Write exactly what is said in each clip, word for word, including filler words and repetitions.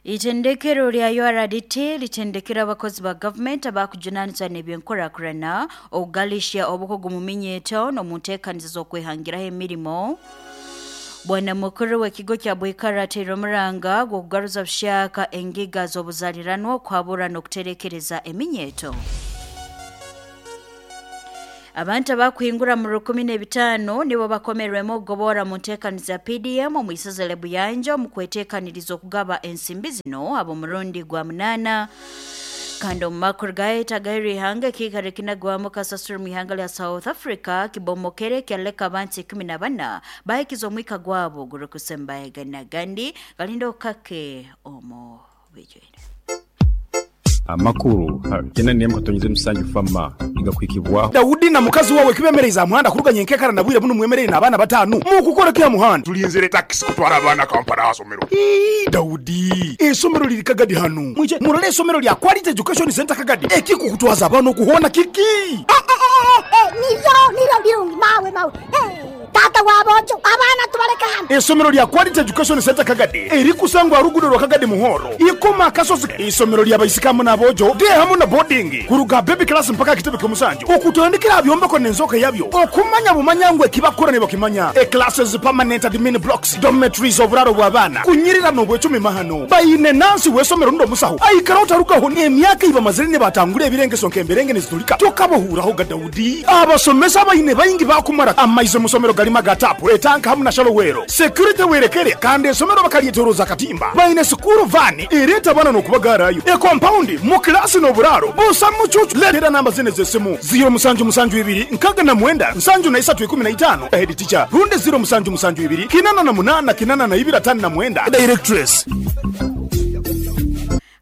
Itendekero lya U R D T litendekera abakozi ba gavumenti abakujunanizwa n'ebyenkurakurana, okugalisha obukugu mu minyeto n'omu nteekaniza z'okwehangiraho emirimo. Bwana mukuru w'ekigo kya Bwikara ateire omuranga gw'okugaruza bushaka engiga z'obuzaliranwa, okuhabura n'okuterekereza eminyeto. Abantu abakuhingura mu rukumi n'ebitaano nibo bakomerwemu okugobora mu nteekaniza P D M omu isaza lya Buyanja omu kweteekaniriza okugaba ensimbi zino ab'omurundi gwa munaana. Kandi omu makuru gaheta gaheri ihanga, ekiikaro ekinagwamu kasasiro mu ihanga lya South Africa kibomokere kyaleka abantu ikumi na bana bahikiza omwika gwabo gurikusembaegana. Gandi galinda okake omu bijwire. Amakuru kenda nemu katonyeze musanju fama igakwikibwaho. Dawudi na mukazi wawe kibemereza muhanda kuruganya enkekara na bwire buno, mwemerere n'abaana batanu mukukora kya muhanda. Tulinzire takisi kutwara abaana Kampala asomero. Ii, Dawudi, esomero liri Kagadi hano, mwije murole esomero lya Quality Education Center Kagadi. Ekikukutwaza abaana okuhona kiki? Nibyo nibyo birungi mawe mawe. Eh, tata wabojo, abaana tubaleka hano. Esomero lya Quality Education Center Kagadi erikusangwa rugudo rwa Kagadi Muhoro ikoma akasozi, isomero lya baisikamu n'abojo de hamu na boarding, kuruga baby class mpaka kitebe ky'omusanju, okutandikira byombeko n'enzoka yabyo, okumanya bumanya ngu ekibakora ne bakimanya. E classes, permanent admin blocks, dormitories, oburaro bw'abaana kunyirira n'obwecumi mahano. Bayine nansi w'esomero ndo musaho aikara otarugaho n'emyaka ibamazire ne batangura ebirengeso nk'emberenge nizitulika tokabahuuraho ga. Dawudi, abasomesa bayine bayingi bakumara amaize musomero galima ga tapu, etanka hamu na shalowero, security werekere. Kandi esomero bakalyetoroza katimba, bayine school van ereeta abaana n'okubagarayo, e compound mu kilasi n'oburaro busa mucucu. Leetera namba zine z'essimu: ziro musanju musanju ibiri nkaga na mwenda nsanju na isatu ikumi na itano, head teacher, rundi ziro musanju musanju ibiri kinana na munana kinana na ibiri atano na mwenda, directress.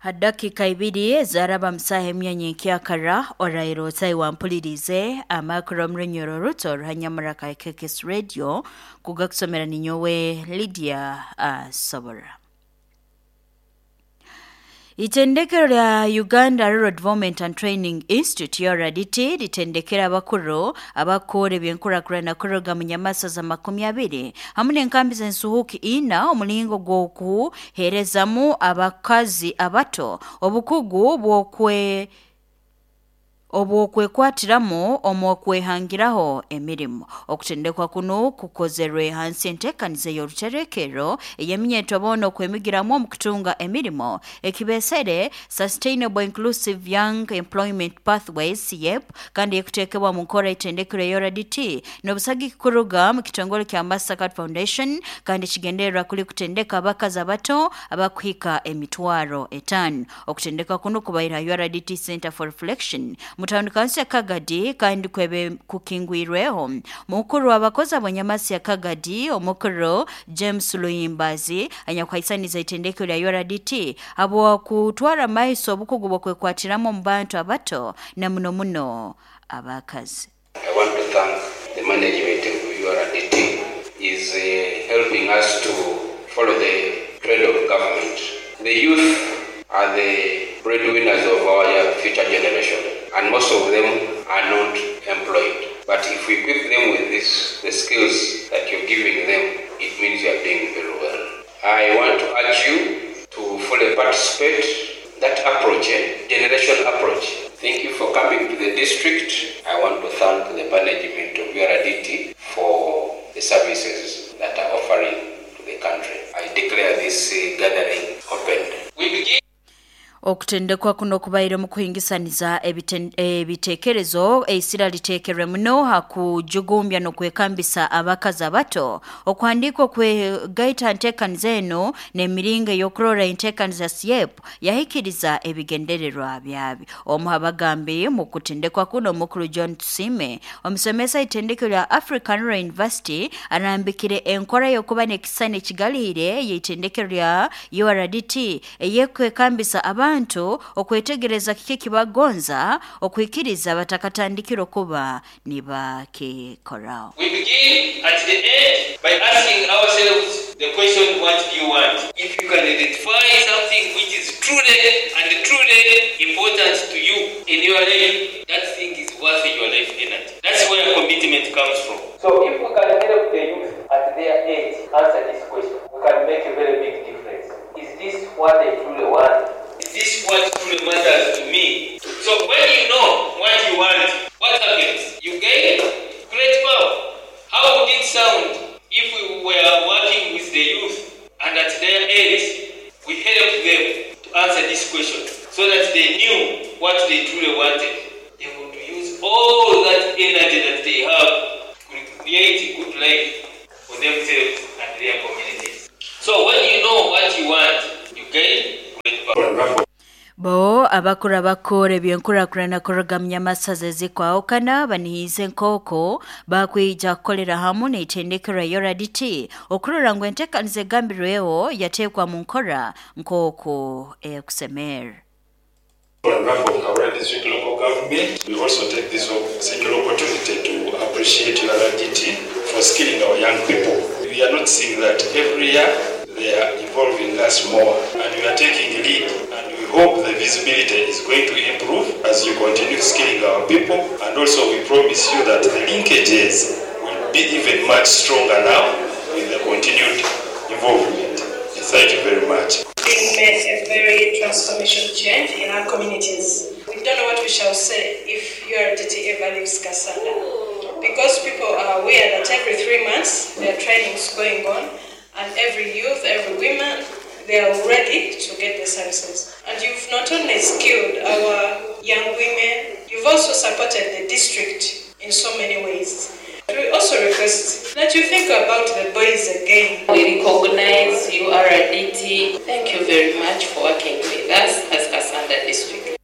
Hadakika ibiri ezaraba musaha emyanya enkyakara orairo otai wampulirize amakuru omurunyoro ruto ruhanyamura ka K K S Radio, kugakusomera ninyowe Lydia uh, Sobora. Itendekero lya Uganda Rural Development and Training Institute, U R D T, litendekera abakuru abakora ebyenkurakurana kuruga mu nyamasa za makumi abiri hamwe n'enkambi z'ensuhuki ina, omulingo gw'okuheerezamu abakazi abato obukugu bw'okwe obwokwekwatiramu omu okwehangiraho emirimu. Okutendekwa kuno kukozerwe hansi enteekaniza y'oruterekero ey'eminyeto boona okwemigiramu omu kutunga emirimo, ekibesere Sustainable Inclusive Young Employment Pathways, SYEP, kandi ekuteekebwa mu nkora etendekero ya U R D T n'obusagiki kuruga mu kitongole kya Mastercard Foundation, kandi kigendererwa kuli kutendeka abakazi abato abakuhika emitwaro etaano. Okutendeka kuno kubaire U R D T Center for Reflection mu tawuni kansi ya Kagadi, kandi kwebe kukingwirweho mukuru w'abakozi abanyamasi ya Kagadi, omukuru James Luyimbazi, anyakuhaisaniza itendekero lya U R D T abo kutwara maiso obukugu bw'okwekwatiramu mu bantu abato na muno muno abakazi. I want to thank the management of U R D T is uh, helping us to follow the trend of government. The youth are the breadwinners of our future generation, and most of them are not employed. But if we equip them with this, the skills that you're giving them, it means you are doing very well. I want to urge you to fully participate. That approach, eh, generation approach. Thank you for coming to the district. I want to thank the management of U R D T for the services that are offering to the country. I declare this uh, gathering opened. We begin. Okutendekwa kuno kubaire mu kuhingisaniza ebiten- ebitekerezo, eisira liteekerwe muno ha kujugumbya n'okwekambisa abakazi abato. Okuhandiika okwegaita nteekaniza eno n'emiringo ey'okurora enteekaniza SYEP yahikiriza ebigendererwa byabyo. Omu abagambi mu kutendekwa kuno, omukuru John Tusime, omusomesa itendekero lya African Rural University, arambikire enkora y'okuba n'ekisani ekigalihire ey'itendekero lya U R D T eyekwekambisa abantu okwetegereza kiki kibagonza okwikiriza batakatandikira okuba nibakikoraho. We begin at the end by asking ourselves the question, "What do you want?" If you can identify something which is truly and truly important to you in your life, that thing is worth your life energy. That's where commitment comes from. So if we can help the youth at their age answer this question, we can make a very big difference. Is this what I truly want? Is this what truly matters to me? So when you know what you want, what happens? You gain great power. How would it sound if we were working with the youth and at their age we helped them to answer this question so that they knew what they truly wanted? They would use all that energy that they have to create a good life for themselves and their communities. So when you know what you want, you gain great power. Bo abakura bakora ebyenkurakurana kuruga masaza ezikwahukana banihize nkoko bakwija kukolera hamu n'itendekero ya U R D T okurora ngu enteekaniza egambirweho yateekwa mu nkora nkoko ekusemera. On behalf of Kawura District Local Government, we also take this single opportunity to appreciate U R D T for skilling our young people. We are not seeing that every year they are involving us more, and we are taking lead, and we hope the visibility is going to improve as you continue skilling our people. And also we promise you that the linkages will be even much stronger now with the continued involvement. Thank you very much. It made a very transformation change in our communities. We don't know what we shall say if U R D T ever leaves Kassanda, because people are aware that every three months there are trainings going on, and every youth, every woman, they are ready to get the services. And you've not only skilled our young women, you've also supported the district in so many ways. We also request that you think about the boys again. We recognize U R D T. Thank you very much for working with us as Kassanda District.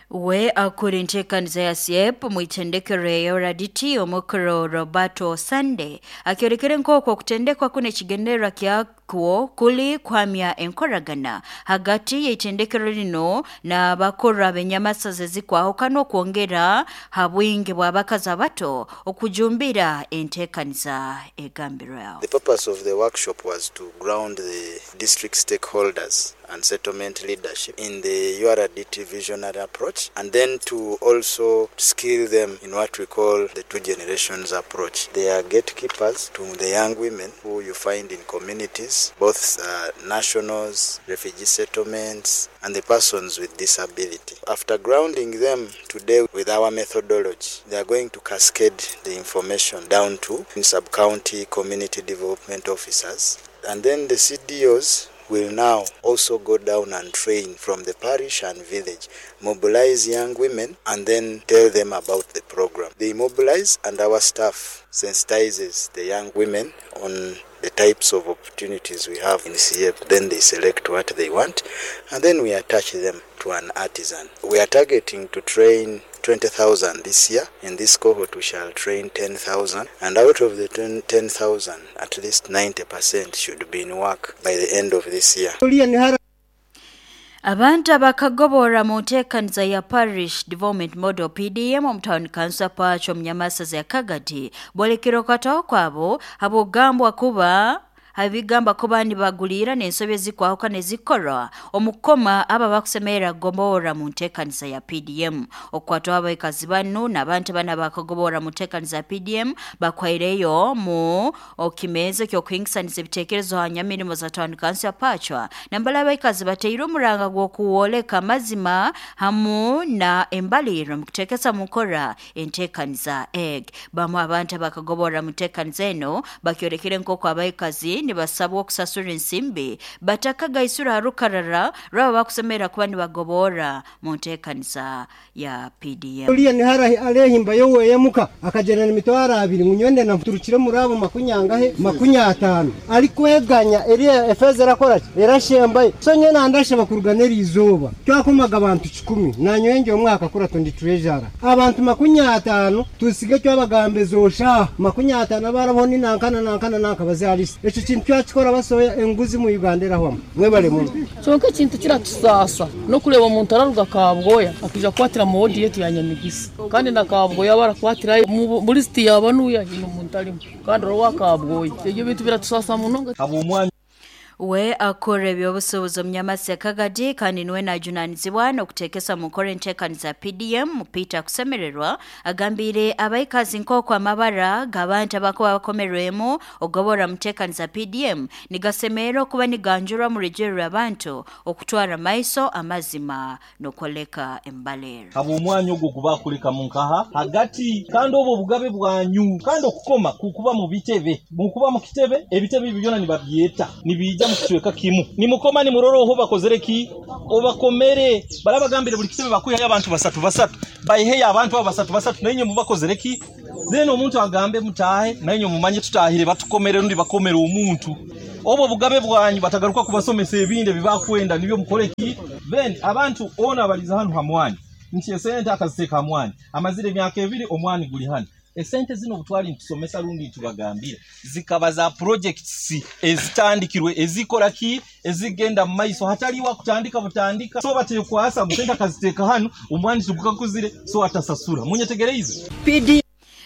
We akuri ntekaniza ya S I E P mwitendekero ya U R D T omukuru Roberto Sande akyorekere nkoko okutendekwa kune kigendererwa kyakwo kuli kwamya enkoragana hagati y'itendekero lino n'abakora abenyamasaza ezikwahukana okwongera ha bwingi bw'abakazi abato okujumbira entekaniza egambirwaho. The purpose of the workshop was to ground the district stakeholders and settlement leadership in the U R D T visionary approach, and then to also skill them in what we call the two generations approach. They are gatekeepers to the young women who you find in communities, both uh, nationals, refugee settlements, and the persons with disability. After grounding them today with our methodology, they are going to cascade the information down to sub-county community development officers, and then the C D Os will now also go down and train from the parish and village, mobilize young women, and then tell them about the program. They mobilize, and our staff sensitizes the young women on the types of opportunities we have in C F. Then they select what they want, and then we attach them to an artisan. We are targeting to train twenty thousand this year. In this cohort, we shall train ten thousand, and out of the ten thousand, at least ninety percent should be in work by the end of this year. Abantu abakagobora mu nteekaniza ya Parish Development Model P D M omu town council Pacho omunyamasaza ya Kagadi bolekera okwataho kwabo habw'okugambwa kuba habigamba kuba nibagulira n'ensobi ezikwahukana ezikorwa omukoma aba bakusemerera kugobora mu nteekaniza ya P D M. Okwatwa abaikazi banu n'abantu bana bakagobora mu nteekaniza ya P D M bakwaireyo mu okimezo ky'okuhingisaniza ebiteekerezo ha nyamirimo za town council ya Pachwa nambala abaikazi bateire omuranga gw'okuwoleka amazima hamu na embaliro mu kuteekesa mu nkora enteekaniza egg. Bamu abantu bakagobora mu nteekaniza eno bakyorekere nk'oku abaikazi nibasabwa okusasura ensimbi batakagaisura rukarara rwaba bakusemera kuba nibagobora mu nteekaniza ya P D M. Uriya nihara alehimba yowe yemuka akagena imitwaro abiri ngunyonde na mturukire murabo makunyangahe makunyatano ariko yeganya eriya efeza erakora erashembaye so nyena ndashe bakuruganera izuba twakomaga abantu icumi nanyoye omwaka kura tondi treasure abantu makunyatano tusige cyabagambezo sha makunyatano barabona inankana nankana nanka bazalisi echo kintu cyakikora basoya enguzi mu Uganda erahwamo mwebale muno. Kyonka ekintu kiratusasa nokureba omuntu araruga Kabwoya akija kukwatira mu wodi yetu ya Nyamigisa kandi na Kabwoya barakwatira muri siti yaba nuya hino omuntu arimo kandi orowa Kabwoya ebyo bintu biratusasa munonga. We akora ebyobusuubuzi omunyamasi Kagadi kandi niwe najunanizibwa n'okuteekesa mu nkora enteekaniza P D M Peter Kusemererwa agambire abaikazi nk'oku amabara g'abantu abakuba bakomerwemu ogobora muteekaniza P D M nigasemerera okuba niganjurwa mu rugero abantu okutwara maiso amazima n'okwoleka embalera. Abo omwanya ogwo gubakuleka mu nkaha hagati kandi obwo obugabe bwanyu kandi okukoma kukuba mu bitebe mukuba mu kitebe ebitebe ebyo byona nibabyeta nibija mukicweka kimu nimukoma ni muroro oho bakozere ki obakomere barabagambire buli kitebe bakuya abantu basatu basatu bayihe abantu basatu basatu naye mubakozere ki then omuntu agambe mutahe naye mumanye tutahire batukomere rundi bakomere omuntu obo bugabe bwanyu batagaruka kubasomesa ebinde bibakwenda nibyo mukore ki then abantu ona baliza hano hamwani nti esente akaziteka hamwani amazire emyaka ebiri omwani guli hano esente zino butwali ntusomesa rundi tubagambira zikaba za projects ezitandikirwe ezikora ki ezigenda mu maiso hataliwa kutandika butandika so batekwasa musente akaziteka hano omwani tugukakuzire so atasasura munyetegereze P D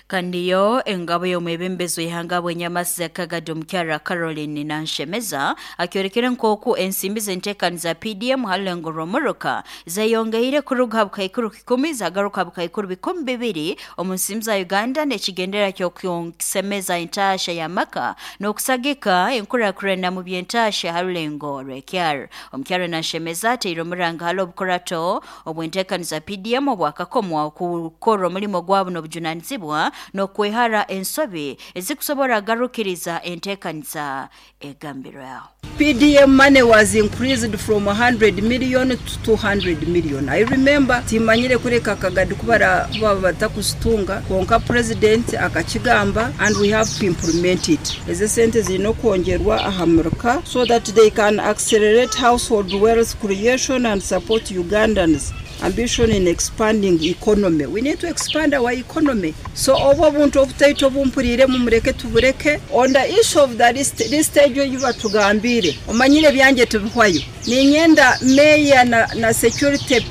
Kandiyo engabo y'omwebembezo ihanga bwenyamasi ya Kagadi omukyara Caroline Nanshemeza akyorekere nkoku ensimbi z'enteekaniza P D M halengo romuruka zayongeire kuruga bukaikuru kikumi zagaruka bukaikuru bikumi bibiri omu nsimbi za Uganda n'ekigendera ky'okusemeza entasha ya maka n'okusagika enkurakurana mu by'entasha halulengo rw'ekyaro. Omukyara Nanshemeza ateire omuranga hali obukurato obw'enteekaniza P D M obwakakomwa okukora omulimo gwabo n'obujunanizibwa n'okwehara ensobi ezikusobora garukiriza enteekaniza egambirwaho. P D M money was increased from one hundred million to two hundred million. I remember timanyire kureka Kagadi kubara kuba batakusitunga konka president akakigamba and we have to implement it. Eze sente zirino kwongerwa ahamuruka so that they can accelerate household wealth creation and support Ugandans ambition in expanding economy. We need to expand our economy. So obo buntu obutaito bumpurire mumureke tubureke. On the issue of that this, this stage yuba tugambire. Omanyire byanje tubihwayo. Ninyenda mayor na, na security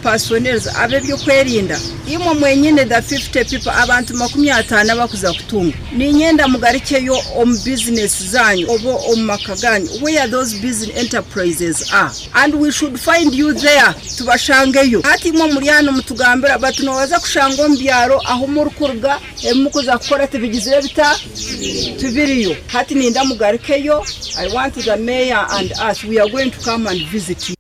personnel abe byo kwerinda. Imwe mwenyine the fifty people abantu makumi atano bakuza kutunga. Ninyenda mugarikeyo om business zanyu obo omakaganyu where those business enterprises are and we should find you there tubashangeyo. Ati mwe muri hano mutugambira batunowaza kushanga ombyaro aho murukuruga emukuza kukora tibigizire bita tubiriyo. Hati ninda mugarikeyo. I want the mayor and us, we are going to come and visit you.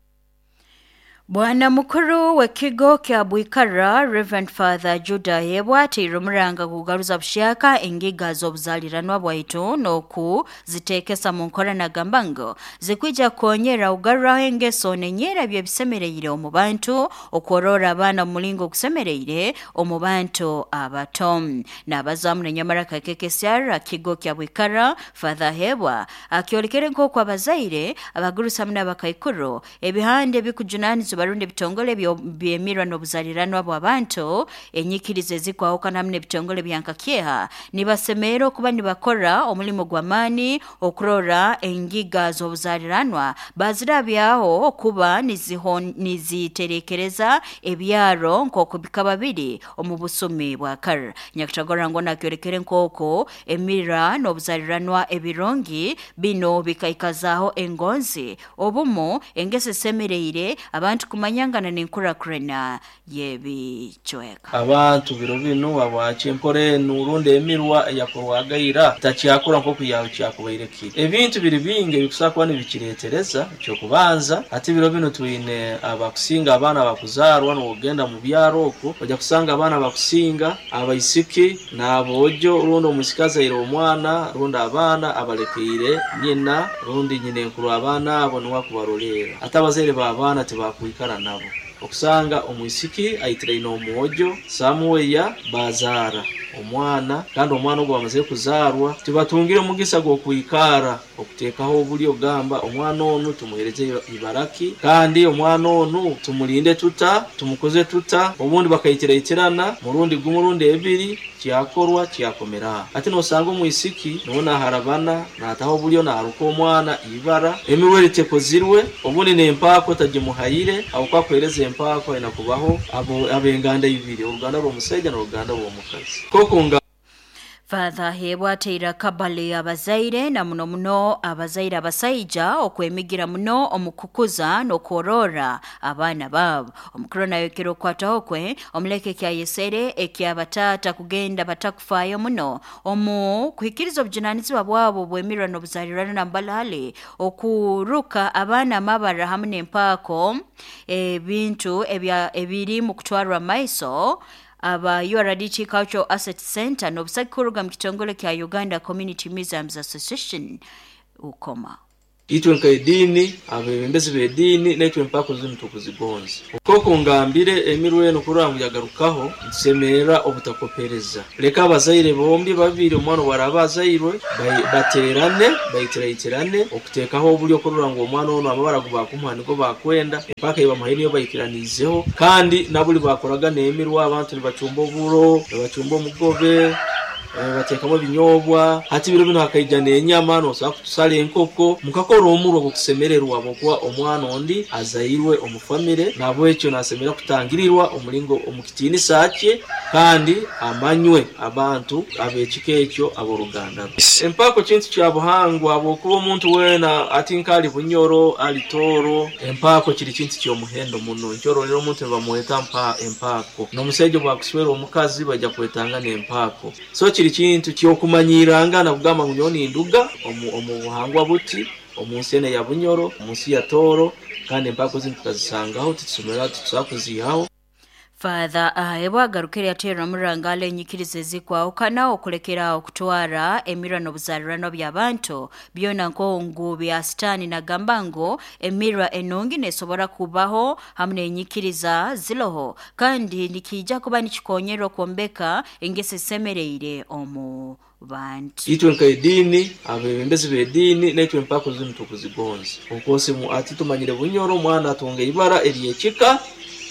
Bwana mukuru w'ekigo kya Bwikara Reverend Father Judah Hebwa ateire omuranga kugaruza bushaka engiga z'obuzaliranwa bwaitu n'oku ziteekesa mu nkora nagamba ngu zikwija kukonyera kugaruraho engeso n'enyera by'ebisemereire omu bantu okworora abaana omu mulingo ogusemereire omu bantu abato. N'abazaamu n'enyamara kakekesyara kigo kya Bwikara Father Hebwa akyorekere nk'oku abazaire abagurusamu n'abakaikuru ebihande ebikujunanizibwa barundi bitongole byemirwa n'obuzaliranwa bw'abantu enyikirizo ezikwahukana hamwe n'ebitongole byankakyeha nibasemera okuba nibakora omulimo gw'amaani okurora engiga z'obuzaliranwa bazirabyaho okuba niziterekereza ebyaro nk'oku bikaba biri omu busumi bwa kare. Nyakutagora ngo nakyorekere nk'oku emira n'obuzaliranwa ebirungi bino bikaikazaho engonzi obumu engeso esemereire abantu kumanyangana n'enkurakurana y'ebichweka. Abantu biro bino abache empore nurundi emirwa yakorwagaira takyakora nkoku yawe kyakubaire kiri. Ebintu biri bingi ebikusakuba nibikiretereza ekyokubanza ati biro bino twine abakusinga abaana bakuzarwa n'ogenda mu byaro okwo ojja kusanga abaana bakusinga abaisiki n'abojo rundi omusikazi aire omwana rundi abaana abalekeire nyina rundi nyina enkuru abaana abo niwe akubarolera ate abazaire b'abaana tibakwikara nabo. Okusanga omwisiki aitiraine omwojo samuweya bazara omwana kandi omwana ogwo bamaze kuzarwa tibatungire omugisa gw'okwikara okuteekaho obulyo ogamba omwana onu tumuhereze ibaraki kandi omwana onu tumulinde tuta tumukoze tuta obundi bakaitiraiterana murundi gumurundi ebiri kyakorwa kyakomera. Ate nosanga omwisiki nona harabana nataho obulyo naruka omwana ibara emiwere tekozirwe obundi n'empaako tagimuhayire aho kwakwereza empaako inakubaho abo abenganda ibiri oruganda rw'omusajja n'oruganda rw'omukazi. Kokunga Father Hebwa ateire akabale abazaire na muno muno abazaire abasaija okwemigira muno omukukuza n'okworora abaana baabo. Omukuru nayokera okwataho kwe omuleke kyayesere ekyabataata kugenda batakufaayo muno omu kuhikiriza obujunanizibwa bwabo bwemirwa n'obuzalirano na mbalale okuruka abaana amabara hamwe n'empaako ebintu ebiri mu kutwarwa maiso aba U R D T Cultural Asset Center n'obusaki kuruga mu kitongole kya Uganda Community Museums Association ukoma. Itwe nka edini, abebembezi b'edini naitwe empako zinu tukuzigonza. Koko ngambire emirwe eno kurora ngu yagarukaho ntusemerera obutakopereza. Leka abazaire bombi babiri omwana waraba azairwe baterane baitiraiterane okuteekaho obulyo kurora ngu omwana ono amabara gubakumuha nigo bakwenda empaka ebamuhaire niyo baikiranizeho, kandi nabuli bakoraga n'emirwa abantu nibacumba oburo, nibacumba omugobe, bateekamu ebinyobwa. Hati biro bino hakaija n'enyama nosobola kutusala enkoko mukakora omurwa gw'okusemererwa habwokuba omwana ondi azairwe omu famire, nabwekyo nasemera kutangirirwa omulingo omukitiinisa kye kandi amanywe abantu ab'ekika ekyo ab'oruganda. Empako kintu kya buhangwa habwokuba omuntu weena ati nkali Bunyoro ali Tooro, empako kiri kintu ky'omuhendo muno. Nkyororera omuntu nibamweta mpa empako, n'omusaija bwakuswera omukazi bajja kwetanga n'empako. So kiri kintu kyokumanyiranga nakugamba ngu nyowe ninduga omu buhangwa buti omu nsi eno ya Bunyoro, omu nsi ya Tooro, kandi empako zinu tukazisangaho titusomera titusobola kuziihaho. Father Ahebwa agarukire yateera omurangale enyikiriza ezikwahukana okulekera okutwara emirwa n'obuzalirano by'abantu byona nkongu bya sitani, nagamba ngu emirwa enungi nesobora kubaho hamwe n'enyikiriza ziloho kandi nikija kuba nikikonyera okwombeka engeso esemereire omu bantu. Itwe nka edini, abebembezi b'edini naitwe empako zinu tukuzigonza. Okosi ati tumanyire Bunyoro omwana atunga ibara ery'ekika,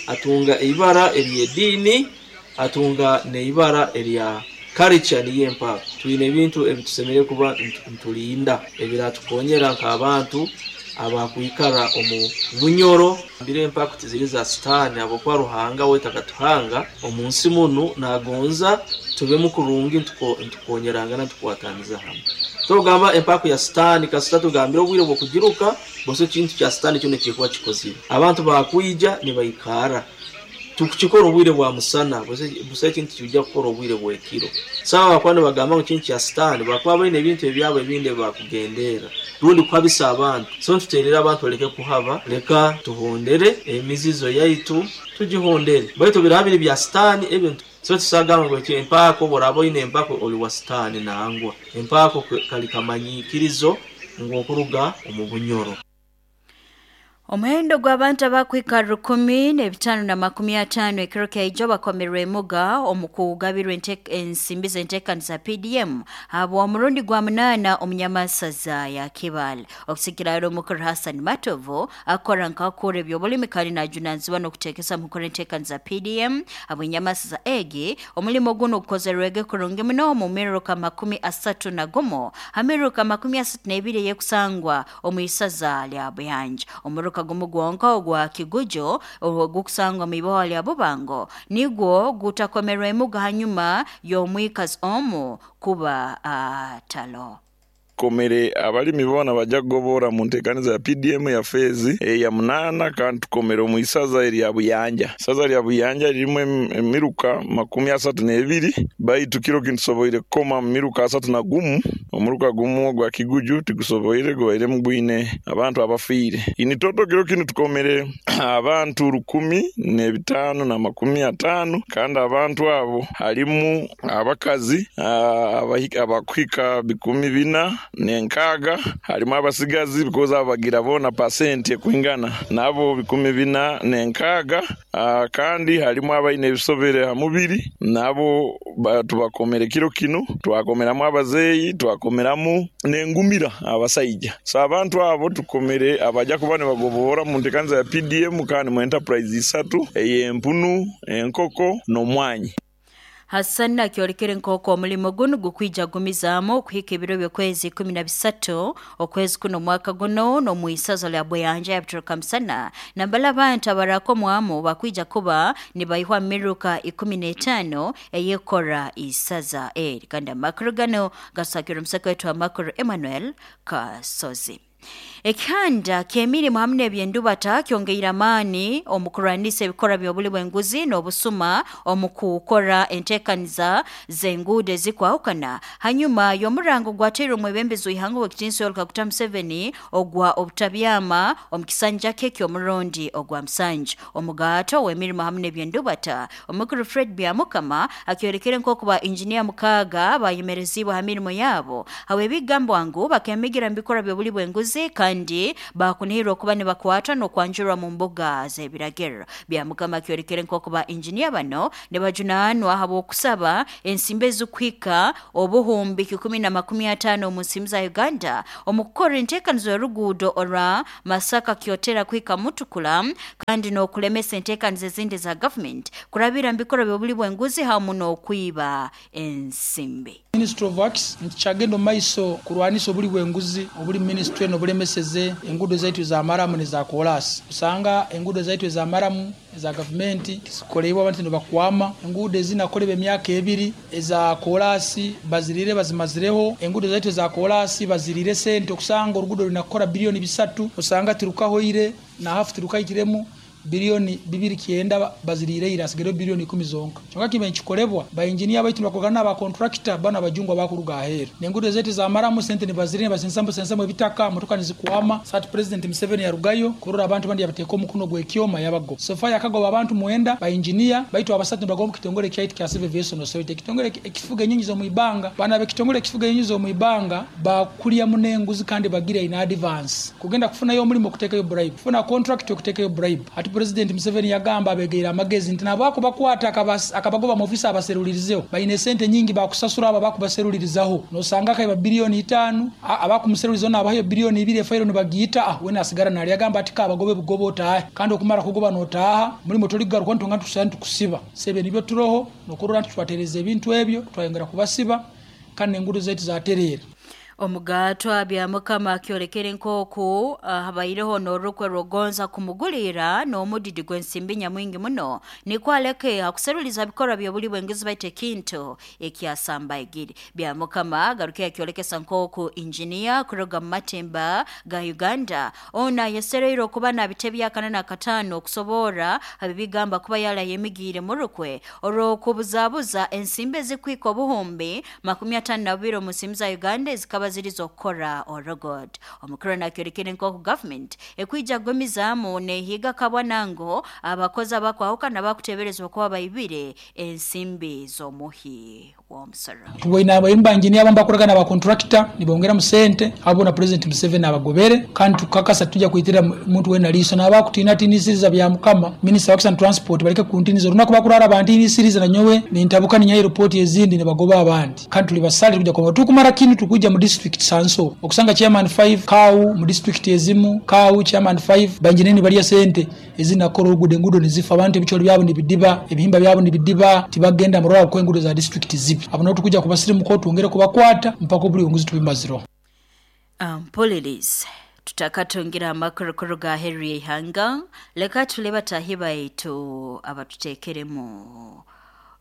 atunga ibara ery'edini, atunga n'ibara erya culture niyo empako. Twine ebintu ebitusemere kuba ntulinda ebiratukonyera nk'abantu abakwikara omu Bunyoro. Mbire empako tiziri za sitani habwokuba Ruhanga we takatuhanga omu nsi munu nagonza tubemu kurungi ntukonyerangana tukwataniza hamwe. Tugamba empako ya sitani kasita tugambira obwire bw'okugiruka bose kintu kya sitani kyo nekikuba kikozire. Abantu bakwija nibaikara tukukikora obwire bwa musana bose bose kintu kijja kukora obwire bwekiro. Sawa bakwana bagamba ngu kintu kya sitani bakuba baine ebintu ebyabo ebindi bakugendera rundi kuhabisa abantu. So ntuterera abantu baleke kuhaba, leka tuhondere emizizo yaitu tugihondere baitu birabiri bya sitani ebintu. So tusagamba ngu empako borabo ine empako oli wa sitani nangwa empako kali kamanyikirizo ngu okuruga omu Bunyoro. Omuhendo gw'abantu abakwika rukumi n'ebitaano na makumi ataano ekiro kyaijo bakomerwe emuga omu kugabirwa ensimbi z'enteekaniza P D M habwa omurundi gwa munaana omunyamasaza ya Kibale. Okusikira omukuru Hassan Matovu akora nkakora eby'obulimi kandi najunanizibwa n'okuteekesa mu kukora enteekaniza P D M habw'enyamasaza egi. Omulimo guno gukozerwege kurungi muno mu miruka makumi asatu na gumu hamiruka makumi asatu n'ebiri eyekusangwa omu isaza lya Buyanja. Omuruka gumu gwonka ogwa Kigujo ogukusangwa mu iboha lya Bubango nigwo gutakomerwa emuga hanyuma y'omwikazi omu kuba atalo. Komere abalimi bona bajja kugobora mu nteekaniza ya P D M ya fezi eya munana kandi tukomere omu isaza erya Buyanja. Isaza lya Buyanja lirimu emiruka makumi asatu n'ebiri baitu kiro kintusoboire kukoma mu miruka asatu na gumu. Omuruka gumu gwa Kiguju tigusoboire gubaire mugwine abantu abafiire. Ini toto kiro kinu tukomere abantu rukumi n'ebitaano na makumi ataano kandi abantu abo harimu abakazi abakuhika bikumi bina nenkaga, harimu abasigazi because abagira bona percent ekwingana nabo bikumi bina nenkaga, uh, kandi harimu abaine ebisobere ha mubiri nabo tubakomere kiro kino twakomeramu abazeyi twakomeramu nengumira abasaija. So abantu abo tukomere abaja kuba nibagobora mu ntekanza ya P D M kandi mu enterprise isatu ey'empunu, enkoko n'omwanyi. Hassan akyorekere nk'oku omulimo guno gukwija gumizaamu okuhika ebiro by'okwezi ikumi na bisatu okwezi kuno omwaka guno n'omwisaza lya Buyanja yabituruka musana nambala abantu abarakomwamu bakwija kuba nibaihwa miruka ikumi n'etaano eyekora isaza eri. Kandi amakuru gano gasakira omusaka wetu amakuru Emmanuel Kasozi. Ekihanda ky'emirimu hamwe n'ebyendubata kyongeire amaani omu kurwanisa ebikora by'obuli bw'enguzi n'obusuma omu kukora enteekaniza z'enguudo ezikwahukana hanyuma y'omurango gwateirwe omwebembezi w'ihanga w'ekitiinisa Yoweri Kaguta Museveni ogwa obutabyama omu kisanja kye ky'omurundi ogwa musanju. Omugato w'emirimu hamwe n'ebyendubata omukuru Fred Byamukama akyorekere nk'oku ba injiniya mukaaga bayemerezibwe ha mirimo yaabo habw'ebigambwa ngu bakemigira mu bikora by'obuli bw'enguzi kandi bakunihirwa okuba nibakwatwa n'okwanjurwa mu mbuga z'ebiragiro. Byamukama akyorekere nk'oku ba injiniya bano nibajunaanwa habw'okusaba ensimbi ezikuhika obuhumbi kikumi na makumi ataano omu nsimbi za Uganda omu kukora enteekanizo y'oruguudo orwa Masaka Kyotera kuhika Mutukula kandi n'okulemesa enteekanizo ezindi za gavumenti kurabira mu bikorwa by'obuli bw'enguzi hamu n'okwiba ensimbi. Ministry of Works ntikyagenda omu maiso kurwanisa obuli bw'enguzi obuli ministry n'obulemeseze enguudo zaitu za maramu neza koolasi. Usanga enguudo zaitu za maramu eza gavumenti zikoleibwa abantu nibakwama, enguudo ezinakolebwa emyaka ebiri eza koolasi bazirire bazimazireho, enguudo zaitu za koolasi bazirire sente okusanga oruguudo runakora biliyoni bisatu osanga tirukahoire na hafu tirukaitiremu biliyoni bibiri kyenda bazirire ira asigere biliyoni ikumi zonka. Kyonka kibe nkikolebwa ba engineer baitu bakogana aba contractor bana abajungwa bakuruga ahera. Nengudo zetu za maramu sente nibazirire basensambo sensambo ebitaka motoka nizikwama. Sat President Museveni yarugayo kurora abantu bandi yabateeka omukono gwekyoma yabago. Sofa yakagoba abantu muenda ba engineer baitu abasatu bagomba kitongole kyaitu kya Civil Aviation Authority kitongole ekifuga enyinyi zo muibanga bana be kitongole ekifuga enyinyi zo muibanga bakulya munenguzi kandi bagira in advance kugenda kufunayo omulimo okuteekayo bribe kufuna contract okuteekayo bribe. Ati President Museveni yagamba abegeera amagezi nti nabako bakwata akabagoba mu ofisi abaserulirizeho bayine sente nyingi bakusasura aba bakubaserulirizaho nosanga kaiba biliyoni itaano abakumuserulirizaho nabayo biliyoni ibiri efairo nibagiyita ah wena asigara nali yagamba ati kabagobe bugobo otahe kandi okumara kugoba notaha mulimo toligaruka ntonga tusana tukusiba sebe nibyo turoho nokurora nti twatereza ebintu ebyo twayongera kubasiba kandi engudo zaitu zaterera. Omugatwa Byamukama akyorekere nk'oku uh, habaireho n'orukwe rwogonza kumugulira n'omudidi gw'ensimbi nyamwingi muno nikwaleke akuseruliza bikorwa by'obuli bw'enguzi baite kintu ekyasamba egiri. Byamukama agaruke akyolekesa nk'oku injiniya kuruga mu matemba ga Uganda ona yasereire okuba nabitebya akana na katano okusobora abibigamba kuba yala yemigiire mu rukwe olw'okubuzabuza ensimbi ezikwika obuhumbi makumi ataano na bubiri omu nsimbi za Uganda ezikaba zilizokora orogod. Omukuru nakyorekere nk'oku government ekwija gwemizaamu nehiga kabwanango abakozi abakwahukana bakuteberezwa kuba baibire ensimbi z'omuhi w'omusoro. Tuboina abayimba engineer abambakoragana ba contractor nibongera mu sente abo na President Museveni abagobere kandi tukakasa tujja kuitira muntu wena liso n'abakutinatinisiza bya mukama Minister of Works and Transport baleke kuntiniza olunaku bakurara abantinisiriza na nyowe nintabuka ninya report ezindi ne bagoba abandi kandi tuli basali tujja koma tukumara kinu tukujja mu district sanso okusanga chairman five kau mu district ezimu kau chairman five banjineni baliya sente ezinakora ogude engudo nizifa abantu ebicholo byabo nibidiba ebihimba byabo nibidiba tibagenda murora ko engudo za district zibi abo no tukujja kubasirimu ko tuongere kubakwata mpaka buli onguzi tubimaziro. Um, police tutakatungira amakuru ga Henry Ihanga leka tuleba tahiba yetu abatutekeremu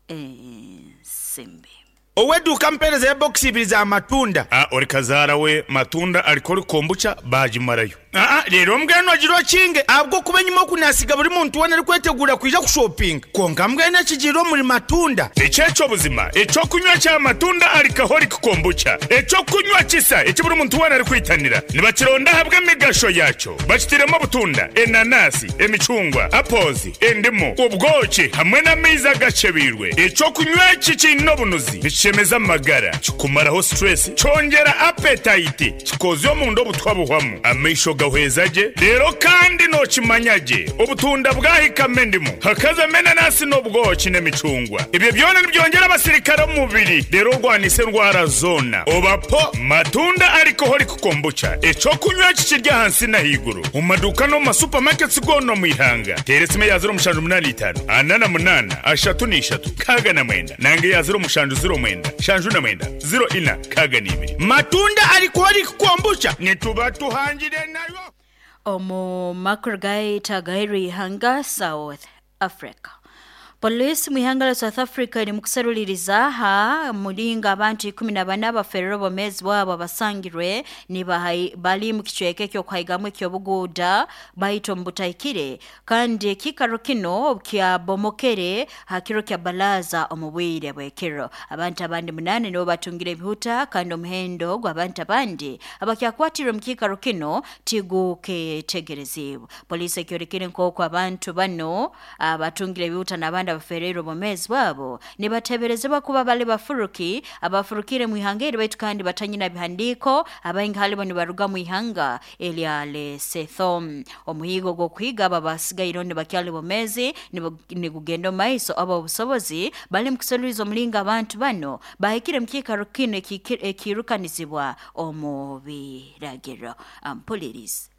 ensimbi. Oweduka mpereza ya box ibiri za matunda. Ah, ori kazara we matunda alikori kombucha bajimarayo. Ah, ah, rero mbweno agirwa kinge abwo kubenyuma okunasiga buri muntu wena ari kwetegura kuja kushopping. Konka mbweno akigirwa muri matunda. Echecho buzima, echo kunywa cha matunda alikahori kombucha. Echo kunywa kisa, eki buri muntu wena ari kwitanira. Nibakironda habwe emigasho yacho. Bakitiremo butunda, enanasi, emicungwa, apples, endimu, ubwoki hamwe n'amaizi agacebirwe. Echo kunywa iki kinobunuzi. Chemeza magara, kikumaraho stress, chongera appetite, kikozyo omundu obutwa buhwamu, amaisho Nigahweza gye rero kandi nokimanya gye obutunda bwahikamo endimu hakazamo enanasi n'obwoki n'emicungwa ebyo byona nibyongera abasirikare omu mubiri rero orwanisa endwara zona obapo matunda alcoholic kombucha ekyokunywa kikirya ahansi n'ahaiguru omu maduuka n'omu masupamaketi goona omu ihanga teera esimu eya ziro mushanju munaana itaano ana na munaana ashatu n'ishatu kaaga na mwenda nange eya ziro mushanju ziro mwenda shanju na mwenda ziro ina kaaga n'ibiri matunda alcoholic kombucha nituba tuhangire nayo. Omu makuru gaita gairi ihanga South Africa. Polisi mu ihanga la South Africa iri mukusaruliriza ha mulinga abantu ikumi na bana baferero bomezi bwabo abasangirwe ni bali mu kicweka ekyokuhaigamu ekyobuguuda baito mbutaikire kandi ekikaro kino kyabomokere hakiro kya balaza omu bwire bw'ekiro. Abantu abandi munane nibo batungire ebihuta kandi omuhendo gw'abantu abandi abakyakwatirwe mu kikaro kino tiguketegerezibwa. Polisi ekyorekire nk'oku abantu bano abatungire ebihuta n'abandi abafereire bomezi bwabo nibateberezebwa kuba bali bafuruki abafurukire mu ihanga eri baitu kandi batanyina bihandiko abaingi halibo nibaruga mu ihanga elya Lesotho. Omuhigo gw'okuhiga aba basigaire nibakyali bomezi nigugenda omu maiso aba obusobozi bali mu kusoloriza omulinga abantu bano bahikire mu kiikaro kino ekirukanizibwa omu biragiro. Ampulirizi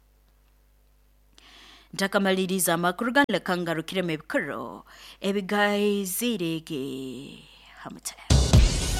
ntakamaliriza amakuru ganle kangarukiremu ebikoro ebigaizirege hamutale.